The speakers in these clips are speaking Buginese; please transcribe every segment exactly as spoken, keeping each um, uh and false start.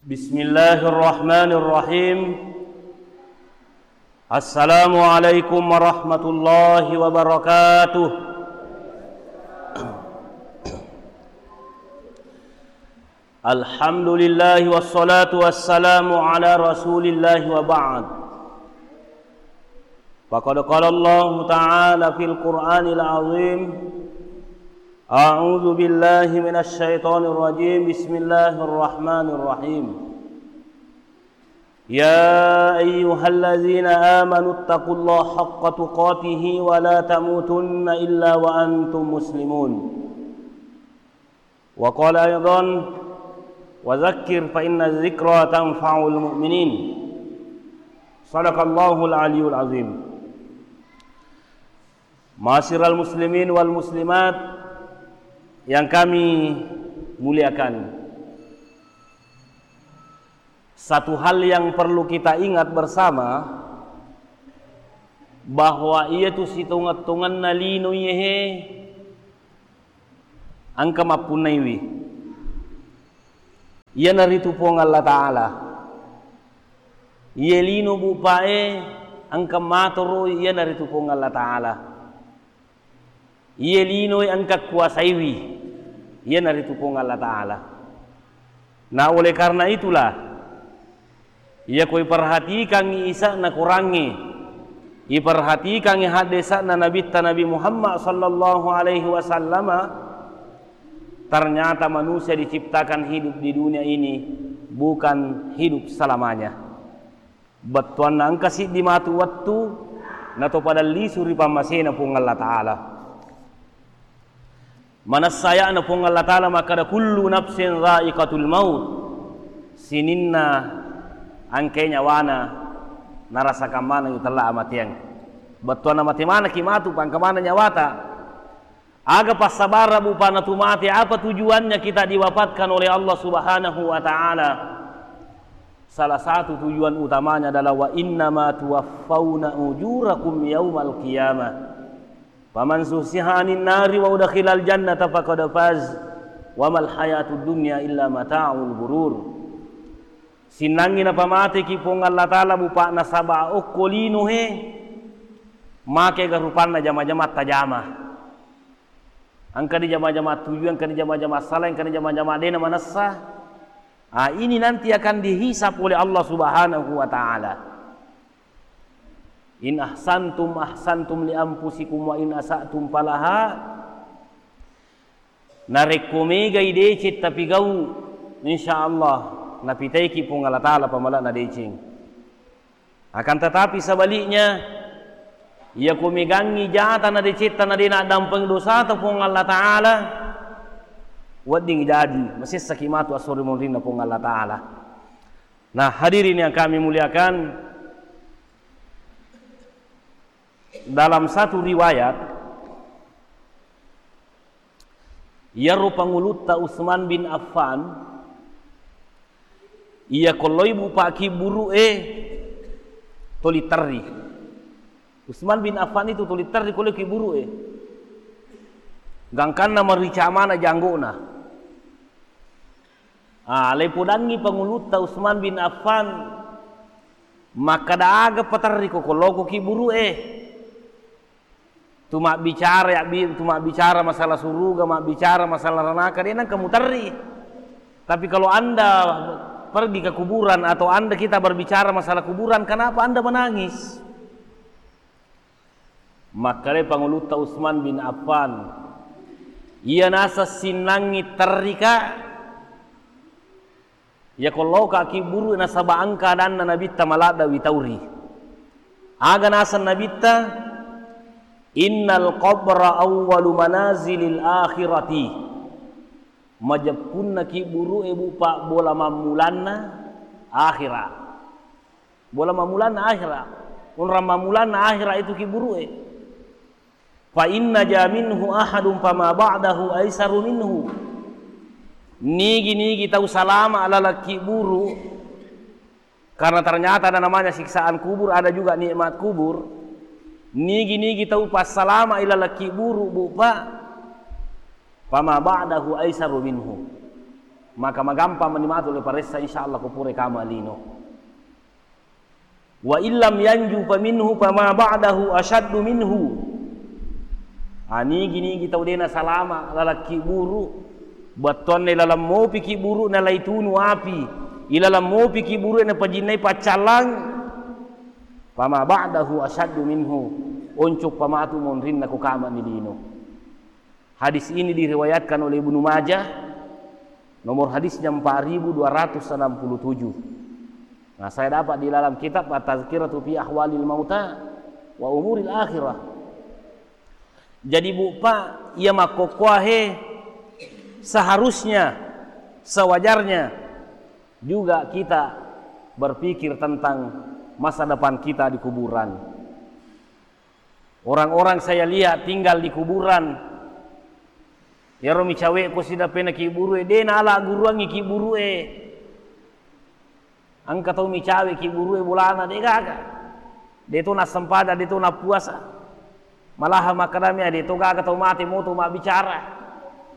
Bismillahirrahmanirrahim. Assalamualaikum warahmatullahi wabarakatuh. Alhamdulillah, wassalatu wassalamu ala Rasulillah, wa ba'd. Faqad qala Allahu ta'ala fil Qur'anil azim, a'udzu billahi minasy syaithanir rajim. Bismillahirrahmanirrahim. Ya ayyuhalladzina amanu taqullaha haqqa tuqatihi wa la tamutunna illa wa antum muslimun. Wa qala aidan, wa dzakkir fa inna dzikra tanfa'ul mu'minin. Sadaqallahul aliyul azim. Ma'asyiral muslimin wal muslimat yang kami muliakan. Satu hal yang perlu kita ingat bersama, bahwa iyatu sitongeng-tongenna lino iyehe engka mappunnaiwi. Iyanaritu Puang Allah Ta'ala. Iye lino bupae engka matoroi, iyanaritu Puang Allah Ta'ala. Iye linoe engka kuasaiwi, iyanaritu Puang Allah Ta'ala. Nah, oleh karena itulah, iyako iperhatikangngi isa'na Korangnge, iperhatikangngi haddesa'na Nabitta Nabi Muhammad sallallahu alaihi wasallama, ternyata manusia diciptakan hidup di dunia ini bukan hidup selamanya. Bettuanna engka siddi matu wettu, nato pada lisu ri pammasena Puang Allah Ta'ala. Manessa aya'na Puang Allah Ta'ala makkada, "Kullu nafsin dha'iqatul maut." Sininna engkae nyawana narasakan maneng itella amateang. Bettuanna mate manekki matu, pangka maneng nyawata. Aga passabara bupa natumate? Apa tujuannya kita diwafatkan oleh Allah Subhanahu wa Ta'ala? Salah satu tujuan utamanya adalah, "Wa innama tuwaffauna ujurakum yaumal qiyamah. Faman zuhziha 'anin nari wa udkhilal jannata faqad faz. Wa mal hayatud dunya illa mata'ul ghurur." Sinnangngi napamateki Puang Allah Ta'ala bupa nasaba okko lino he, makega rupanna jama-jama tajama. Engka di jama-jama tuju, engka di jama-jama salah, engka di jama-jama dena manessa. Ah, ini nanti akan dihisab oleh Allah Subhanahu wa Ta'ala. In ahsantum ahsantum li anfusikum wa in asa'tum falaha. Narekko megai deceng tapigau, insya Allah napitaiki Puang Allah Ta'ala pamala'na deceng. Akan tetapi sebaliknya, iyako megangngi jata na decetta na de naddampeng dosata Puang Allah Ta'ala, wedding jadi masessaki matu assori monrinna Puang Allah Ta'ala. Nah, hadirin yang kami muliakan, dalam satu riwayat, iyaro pangulutta Utsman bin Affan, iya kolloi bupa kibburu'e toli terri. Utsman bin Affan itu toli terri kolloi kibburu'e. Gangkanna marica mana janggona. Ah, lepodangngi pangulutta Utsman bin Affan, makkada, "Aga paterri ko kolloko kibburu'e?" Tu mabbicara, ya, bi-, tu mabbicara masalah suruga, mabbicara masalah ranaka, de nengka muterri. Tapi kalau Anda pergi ke kuburan atau Anda, kita berbicara masalah kuburan, kenapa Anda menangis? Makkeda pangulutta Utsman bin Affan, iya naseng sinnangngi terrika, iya kolloka kibburu nasaba engka adanna Nabitta maladda witauri. Aga naseng Nabitta, "Innal qabra awwalu manazilil akhirati." Majeppunna kibburu'e, Bu, pabbola mammulanna akhira. Bola mammulanna akhira. Onrang mammulanna akhira itu kibburu'e. Fa inna ja minhu ahadun fama ba'dahu aisaru minhu. Nigi-nigi tau salama laleng kibburu, karena ternyata ada namanya siksaan kubur, ada juga nikmat kubur. Nigi-nigi tau passalama ilaleng kibburu, Bu, Pak, fama ba'dahu aisaru minhu. Maka magampang mani matu le paressa, insyaallah, ko pura kama lino. Wa illam yanju fa minhu fama ba'dahu asyaddu minhu. Anigi-nigi tau dena salama lalakki buru, battuanna ilalang mopi ki buru na laitunu api, ilalang mopi ki buru na pajinnai paccallang, fama ba'dahu asyaddu minhu, oncok pamatu monrinna ko kama ni lino. Hadis ini diriwayatkan oleh Ibnu Majah, nomor hadisnya empat ribu dua ratus enam puluh tujuh. Nah, saya dapat di dalam kitab At-Tazkiratu fi Ahwalil Mauta wa Umuril Akhirah. Jadi, Bu, Pak, iya makkokkoahe, seharusnya, sewajarnya juga kita berpikir tentang masa depan kita di kuburan. Orang-orang saya lihat tinggal di kuburan. Iyaro micawe ko sidappena ki buru e, de nala guruangi ki buru e. Engka tau micawe ki buru e bolana, de gaga. De to nassempajang, de to nappuasa. Malahan makkadami, de to gaga tau mate moto mabbicara.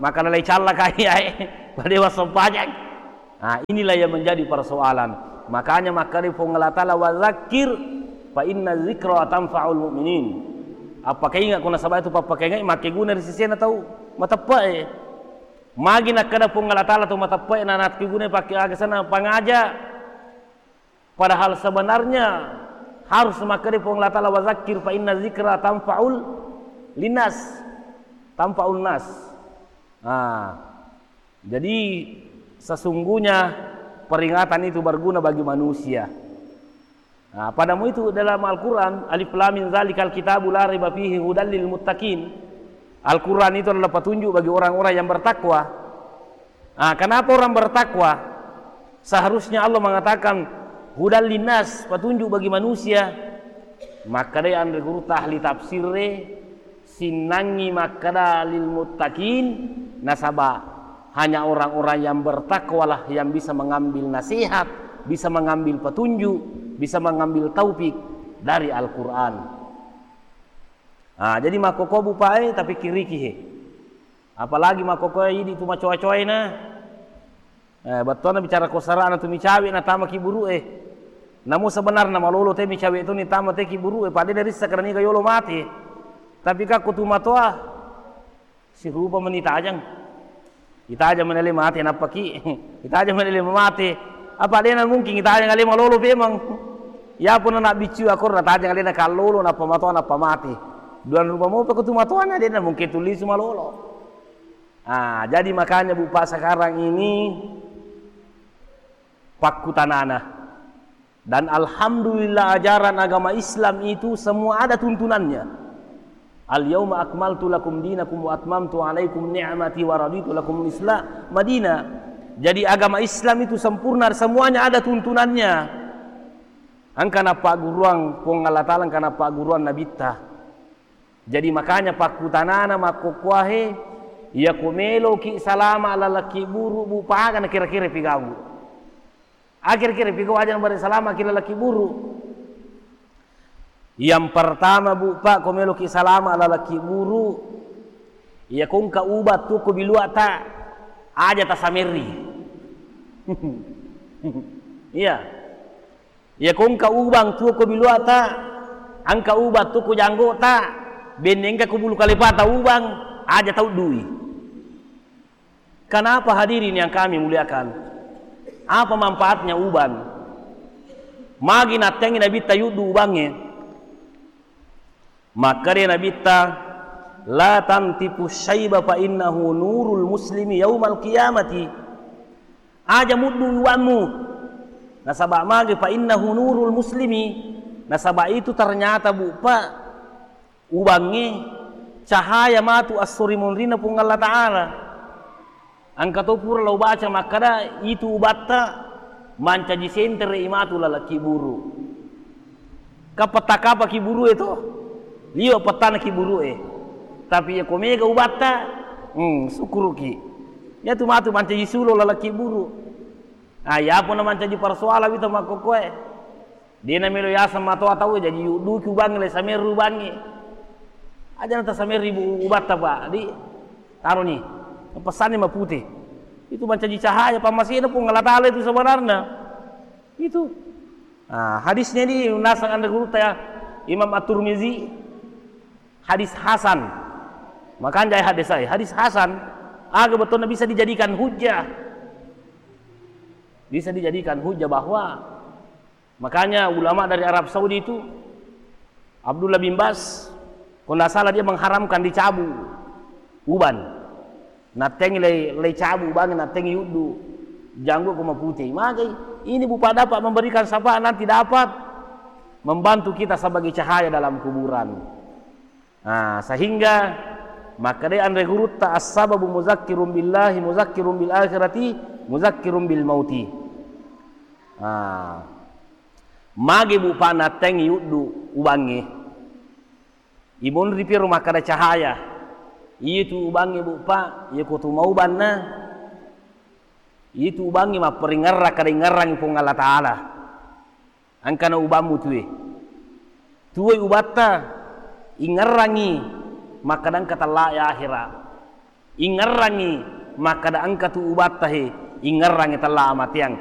Maka lalai calla kai ae, pada wassempajang. Nah, inilah yang menjadi persoalan. Makanya makkeda Puang Allah Ta'ala, "Wa dzakkir fa inna dzikra tanfa'ul mu'minin." Appakainga, ko nasaba itu pappakaingai makkeguna ri sesena tau mateppe'e. Magi nakkeda Puang Allah Ta'ala tau mateppe'e na nakkeguna pakke aga sana pangaja. Padahal sebenarnya harus makkeda Puang Allah Ta'ala, "Wa dzakkir fa inna dzikra tanfa'ul linnas." Tanfa'un nas. Nah, jadi, sesungguhnya peringatan itu berguna bagi manusia. Nah, padamu itu dalam Al-Quran, "Alif Lam Mim Dzalikal Kitabu La Raiba Fihi Hudal Lil Muttaqin." Al-Quran itu adalah petunjuk bagi orang-orang yang bertakwa. Nah, kenapa orang bertakwa? Seharusnya Allah mengatakan, "Hudal linnas," petunjuk bagi manusia. Makkedai anre gurutta ahli tafsirre, sinnangngi makkeda lil muttaqin, nasaba hanya orang-orang yang bertakwalah yang bisa mengambil nasihat, bisa mengambil petunjuk, bisa mengambil taufik dari Al-Quran. Ah, jadi makkokko bupae, tapi kiriki he. Apalagi makkokko idi tu macoa-coaina. Eh, bettuanna bicara ko sarana tu micawe natama ki buru e. Namu sebenarna malolo te micawe tu nitama te ki buru e, pada dari sakarani ga yolo mate. Tapi ka ko tu matoa, sirupa meni tajang. Itajang meni ale mate, nappa ki. Itajang meni ale mate. Apa dena mungkin itajang ale malolo pemang. Ya pun anak biccu akorra tajang alena kallolo, nappa matoa, nappa mate. Duan rupa mopa ko tu matoana, dena mungkin tu lisu malolo. Ah, jadi makanya, Bu, Pak, sekarang ini pakkutanana. Dan alhamdulillah, ajaran agama Islam itu semua ada tuntunannya. "Al-yauma akmaltu lakum dinakum wa atmamtu alaikum ni'mati wa raditu lakum Islam madina." Jadi agama Islam itu sempurna, semuanya ada tuntunannya. Engka napagguruang Puang Allah Ta'ala, engka napagguruang Nabitta. Jadi makanya pakkutanana makkokkoahe, iya ko meloki salama lalakki buru, Bu, paga na kira-kira pigau. Akhir-kira pigau aja na bare salama ki lalakki buru. Yang pertama, Bu, Pak, ko meloki salama lalakki buru, iya ko engka ubat tu ko biluata, aja tasameri. Iya. Iya ko engka ubang tuo ko biluata, engka ubat tuo ko janggota, benne engka ko bulu kalepata ubang, aja tau dui. Kenapa hadirin yang kami muliakan? Apa manfaatnya uban? Magi nattengi Nabitta yuddu ubangnge. Makkeda Nabitta, "La tantifu syaiba fa innahu nurul muslimi yaumal qiyamati." Aja muddu uwammu. Nasaba magi, fa innahu nurul muslimi. Nasaba itu ternyata, Bu, Pak, ubangnge cahaya matu esso ri munrinna Puang Allah Ta'ala. Engka to pura lao baca makkeda, itu ubatta mancaji sentere i matu lalakki buru. Ka petta kapa ki buru e to? Liwa pettana ki buru e. Tapi iya ko mega ubatta, hmm, sukkuruki. Iya tu matu mancaji sulo lalakki buru. Ah, iya pun mancaji persoalan wita makkokkoe. Dena melo yaseng matoa tau, jaji yudduki ubangnge, le samerri ubangnge. Aja na tasamerri bu-, ubatta, Pak. Di, taroni. Pesanni mapute. Itu mancaji cahaya pammasena Puang Allah Ta'ala itu sebenarnya. Itu. Nah, hadisnya ini nasang anre gurutta ya, Imam At-Tirmizi, hadis hasan. Makanya hadis saya, hadis hasan, aga betulnya bisa dijadikan hujjah. Bisa dijadikan hujjah bahwa Makanya ulama dari Arab Saudi itu, Abdullah bin Bas, kalau nggak salah dia mengharamkan dicabu uban. Nattengi lei, lei cabu ubangnge, nattengi uddu janggu ko maputih. Magai, ini bupa dapat memberikan syafaat, nanti dapat membantu kita sebagai cahaya dalam kuburan. Nah, sehingga makkeda anre gurutta, "As-sababu muzakkirun billahi, muzakkirun bil akhirati, muzakkirun bil mauti." Nah, magi bupa nattengi uddu ubangnge. Imunri piro makkeda cahaya. Itu ubangnge bupa, iya ko tu maubanna. Itu ubangnge mapparingerra kada ingerrangi Puang Allah Ta'ala. Engkana ubammu tuwe. Tuwoi ubatta, ingerrangi makkeda engka tella e ahera. Ingerrangi makkeda engka tu ubatta he, ingerrangi tella amateang.